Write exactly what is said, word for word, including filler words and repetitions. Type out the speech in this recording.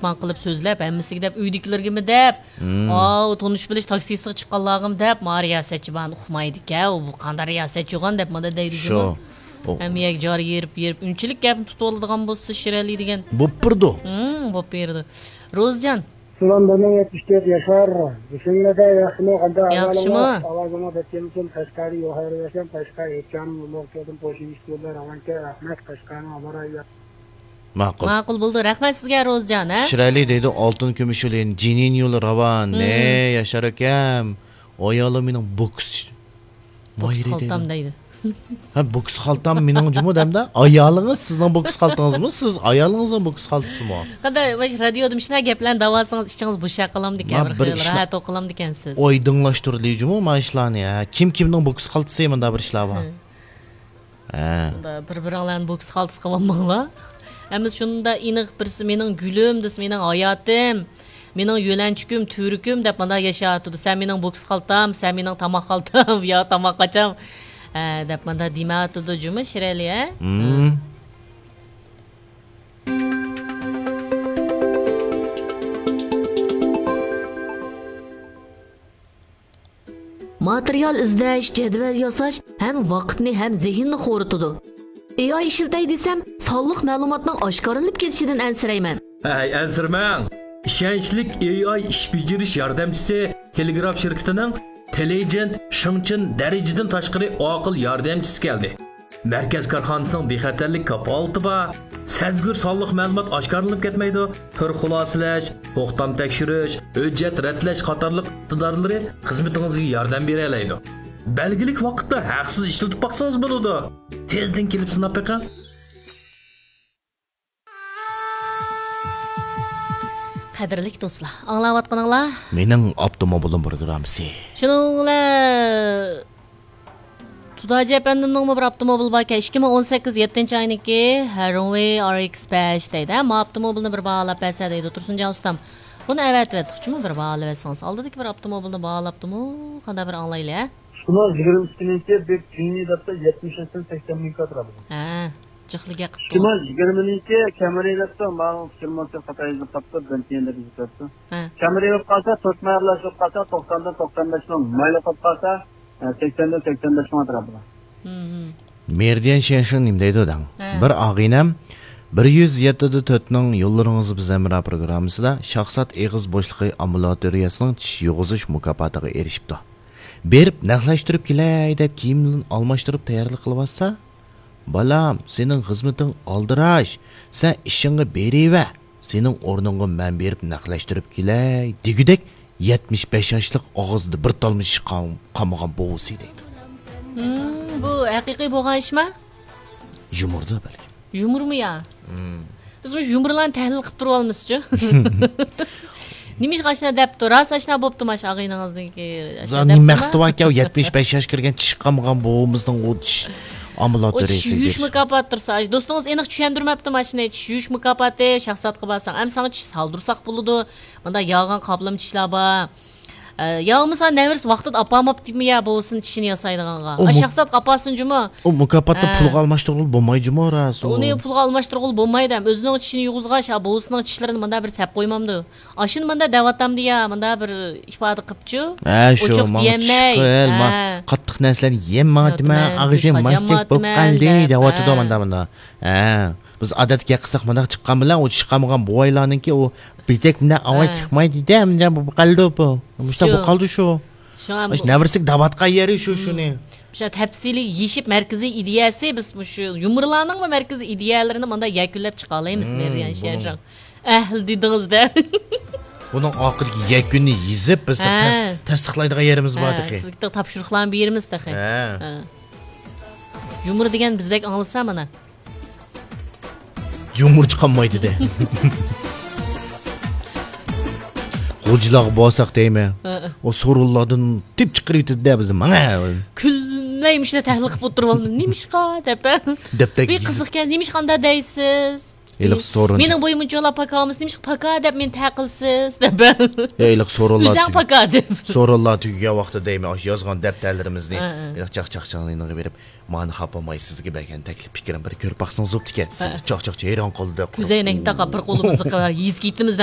ماڭا قىلىپ سۆزلەپ، ھەممىسىگە دەپ، ئۆيدىكىلىرگىمۇ دەپ، مم. ئاۋۇ تونۇش بىلىش تاكسىسىغا چىققانلارغىمۇ دەپ، ما رىياسەتچى بارنى ئۇقمايدىكەن، ئۇ بۇ قانداق رىياسەتچىغان دەپ مانا دەيدۇ جۇمۇ. شۇ. ئۇ ھەممە يەرگە جار يېرىپ، يېرىپ، ئۇنچىلىك گەپنى تۇتۇۋالىدىغان بولسا شىرەلى دېگەن. بوپپۇردۇ. ھىم، بوپ بېرىدۇ. روزىجان. سالام، بىر مىڭ يەتمىش تۆت ياشار. ئېسىڭلىدە ياخشىمۇ، قانداق ئەھۋالىڭلار؟ ياخشىمۇ؟ ئاۋازىڭلار بەك كەمچىل. قەشقەردىن يوق ھەيرىۋەشەم، قەشقەر ھېچام لوكىيادىن قوشۇن ئىشتىيوللار راۋانكە رەھمەت، قەشقەرنىڭ ئاۋارە. ماقۇل. ماقۇل بولدى. رەھمەت سىزگە، روزىجان، ھە؟ شىرەلى دەيدۇ، ئالتۇن كۈمۈش يولى، جىنىن يولى راۋان. مم. ھەي، ياشار ئاكام، ئايالىم مېنىڭ بوكس بوكس ماھىرى خالتام دەيدۇ. دەيدۇ. ھە، بوكس خالتام مېنىڭ جۇمۇ دەمدە. ئايالىڭىز سىزنىڭ بوكس خالتىڭىزمۇ؟ سىز ئايالىڭىزنىڭ بوكس خالتىسىمۇ؟ قانداق، مۇشۇ رادىيودا مۇشۇنداق گەپلەرنى دەۋالسىڭىز، ئىچىڭىز بوشاپ قالامدىكەن، ما بىر بىر خىل بىر ئىشنى راھەت ئوقۇلامدىكەنسىز. ئايدىڭلاشتۇرۇلدى جۇمۇ ما ئىشلارنى. ھە، كىم كىمنىڭ بوكس خالتىسى، مۇنداق بىر ئىشلار بار. ھە. ھە. شۇنداق بىر-بىرىڭلارنى بوكس خالتىسى قىلىۋالماڭلار. ئەمىسە شۇنداق ئېنىق بىرسى مېنىڭ گۈلۈم، بىرسى مېنىڭ ھاياتىم، مېنىڭ يۆلەنچۈكۈم، تۈۋرۈكۈم دەپ مانا ياشاۋاتىدۇ. سەن مېنىڭ بوكس خالتام، سەن مېنىڭ تاماق خالتام، يا تاماق قاچام، ھە، دەپ مانا دېمەۋاتىدۇ جۇمۇ شىرەلى، ھە؟ مم. ھە. ماتېرىيال ئىزدەش، جەدۋەل ياساش ھەم ۋاقىتنى، ھەم زېھىننى خورىتىدۇ. ئېي ئاي ئىشلىتەي دېسەم، سانلىق مەلۇماتنىڭ ئاشكارىلىنىپ كېتىشىدىن ئەنسىرەيمەن. ھەي، ئەنسىرىمەڭ! ئىشەنچلىك ئېي ئاي ئىش بېجىرىش ياردەمچىسى تېلېگراف شىركىتىنىڭ تېلېيجېنت شېڭچېن دەرىجىدىن تاشقىرى ئاقىل ياردەمچىسى كەلدى. مەركەز كارخانىسىنىڭ بىخەتەرلىك كاپالىتى بار. سەزگۈر سانلىق مەلۇمات ئاشكارىلىنىپ كەتمەيدۇ. تۈر خۇلاسىلەش، توختام تەكشۈرۈش، ھۆججەت رەتلەش قاتارلىق ئىقتىدارلىرى خىزمىتىڭىزگە ياردەم بېرەلەيدۇ. بەلگىلىك ۋاقىتتا ھەقسىز ئىشلىتىپ باقسىڭىز بولىدۇ. تېزدىن كېلىپ سىناپ بېقىڭ. قەدىرلىك دوستلار، ئاڭلاۋاتقىنىڭلار مېنىڭ ئاپتوموبىلىم پروگراممىسى. شۇنىڭ بىلەن تۇداجى ئەپەندىمنىڭمۇ بىر ئاپتوموبىلى باركەن، ئىككى مىڭ ئون سەككىز يەتتىنچى ئاينىڭكى رونۋېي ئار ئېكس بەش دەيدۇ. ھە، ما ئاپتوموبىلنى بىر باھالاپ بەرسە دەيدۇ تۇرسۇنجان ئۇستام. بۇنى ئەۋەتىۋەتتۇقچىمۇ، بىر باھالىۋەتسىڭىز. ئالدىدىكى بىر ئاپتوموبىلنى باھالاپتىمۇ، قانداق بىر ئاڭلايلى، ھە؟ ئىككى مىڭ يىگىرمە ئىككىنىڭكى بىر جىنى دەپتۇ، يەتمىش ياشتىن سەكسەن مىڭ كاتىرا بولىدۇ. ھە، جىقلا گەپ قىپتۇ. ئىككى مىڭ يىگىرمىنىڭكى كامرى دەپتۇ، ماڭا ئىككى مىڭ خاتا يېزىپ قاپتۇ، بىر تىيىن دەپ يېزىپ قاپتۇ. ھە. كامرى بولۇپ قالسا، تۆت مەرلەش بولۇپ قالسا، توقساندىن توقسان بەش مىڭ، مايلىق بولۇپ قالسا، سەكسەندىن سەكسەن بەش مىڭ ئەتراپىدا. مېرىدىيەن شيەنشىڭ نېمە دەيدۇ دەڭ؟ ھە. بىر ئاغىنەم بىر يۈز يەتتە دە تۆتنىڭ يوللىرىڭىز بىز ھەمراھ پروگراممىسىدا شاھزات ئېغىز بوشلۇقى ئامبۇلاتورىيەسىنىڭ چىش يۇغۇزۇش مۇكاپاتىغا ئېرىشىپتۇ. بېرىپ نەقلەشتۈرۈپ كېلەي دەپ كىيىملىرىنى ئالماشتۇرۇپ تەييارلىق قىلىۋاتسا، بالام، سېنىڭ خىزمىتىڭ ئالدىراش، سەن ئىشىڭغا بېرىۋەر، سېنىڭ ئورنۇڭغا مەن بېرىپ نەقلەشتۈرۈپ كېلەي دېگۈدەك يەتمىش بەش ياشلىق ئاغزىدا بىر تالما چىش قال-، قالمىغان بوۋىسى دەيدۇ. ھىم، بۇ ھەقىقىي بولغان ئىشما؟ يۇمۇردۇ بەلكىم. يۇمۇرمۇ يا؟ ھىم. بىز مۇشۇ يۇمۇرلارنى تەھلىل قىلىپ تۇرۇۋالىمىزچۇ؟ نېمىشقا ئاشۇنداق دەپتۇ؟ راست ئاشۇنداق بوپتۇما شۇ ئاغىنىڭىزنىڭكى؟ ئاشۇنداق دەپتۇما؟ مەقسىتى باركەن، يەتمىش بەش ياش كىرگەن چىش قالمىغان بوۋىمىزنىڭ ئۇ چىش ئامبۇلاتورىيىسىگە بېرىش. ئۇ چىش يۇيۇش مۇكاپاتى تۇرسا، ئاش-، دوستىڭىز ئېنىق چۈشەندۈرمەپتۇما شۇنى؟ چىش يۇيۇش مۇكاپاتى، شاھزاتقا بارساڭ، ئەمما ساڭا چىش سالدۇرساق بولىدۇ. مۇنداق ياغان قاپلىما چىشلار بار. ئە، ياغمىسا نەۋرىسى ۋاقتىدا ئاپارماپتىمۇ يا بوۋىسىنى چىشىنى ياسايدىغانغا؟ ئۇ ئا، مۇ-، شاھزاتقا ئاپارسۇن جۇمۇ. ئۇ مۇكاپاتنى ھە. پۇلغا ئالماشتۇرغىلى بولمايدۇ جۇمۇ، راست ئۇ. ئۇنى پۇلغا ئالماشتۇرغىلى بولمايدۇ ھەم. ئۆزىنىڭ چىشىنى يۇغۇزغاچ، ھا، بوۋىسىنىڭ چىشلىرىنى مۇنداق بىر سەپ قويمامدۇ؟ ئاشۇنى مۇنداق دەۋاتامدۇ يا، مۇنداق بىر ئىپادە قىپچۇ. ھە، شۇ، ئوچۇق ماڭا چىش دېيەلمەي. قىل، ما-، ھە. قاتتىق نەرسىلەرنى يېمەيتىمەن، يەتمەي، ئاغزىم ماچەك بولۇپ قالدى دەپ، دەۋاتىدۇ ھە. مانا، مانا. ھە. بىز ئادەتتە گەپ قىلساق مۇنداق چىققان بىلەن، ئۇ چىش قالمىغان بوۋايلارنىڭكى ئۇ بىتەك مۇنداق ئاۋاز ھە. چىقمايدۇ-دە، مۇنداق بولۇپ قالدى بۇ. مۇشۇنداق شۇ. بولۇپ قالدى شۇ. شۇڭا مۇشۇ بۇ نەۋرىسىگە دەۋاتقان يېرى شۇ، مم. شۇنى. مۇشۇ تەپسىلىي يېشىپ مەركىزىي ئىدىيەسى، بىز مۇشۇ يۇمۇرلارنىڭمۇ مەركىزىي ئىدىيەلىرىنى مۇنداق يەكۈنلەپ چىقالايمىز، مم، مېرىيان بۇنىڭ شيەنشىڭ. ئەھلى دېدىڭىز-دە. بۇنىڭ ئاخىرقى يەكۈننى يېزىپ، بىز ھە. تەس-، تەستىقلايدىغان يېرىمىز بار ھە، تېخى. سىزگە تاپشۇرۇقلارنى بېرىمىز تېخى. ھە. ھە. يۇمۇر دېگەن بىزدەك ئاڭلىسا مانا. يۇمۇر چىقالمايدۇ-دە. غۇلجىلارغا بارساق دەيمەن. ھە. ئۇ سورۇنلاردىن تېپىپ چىقىرىۋېتىدۇ-دە بىزنى. ماڭە. كۈنلەي مۇشۇنداق تەھلىل قىلىپ ئولتۇرۇۋالىمىز. نېمىشقا دەپ. دەپتەك بىر يېزىپ. قىزىقكەن، نېمىشقا ئانداق دەيسىز؟ ھېلىقى سورۇن. مېنىڭ بويۇم ئۇنچىلا پاكا ئەمەس، نېمىشقا پاكا دەپ مېنى تەقىلسىز دەپ. يا، ھېلىقى سورۇنلار ئۆزۈڭ تۈگ-، پاكا دەپ. سورۇنلار تۈگىگەن ۋاقتىدا دەيمەن، ئاشۇ يازغان دەپتەرلىرىمىزنى ھە، ھە. ھېلىقى چاق-چاقچاڭنىڭ يېنىغا بېرىپ، مانا خاپا بولماي سىزگە بەرگەن تەكلىپ پىكرىم بىر كۆرۈپ باقسىڭىز بوپتىكەن. ھە. چاق-چاقچاق ھەيران قالدى. كۆزەينەكنى تاقاپ بىر قولىمىزنى قىلىپ يېزىپ كېتىمىز دەڭ.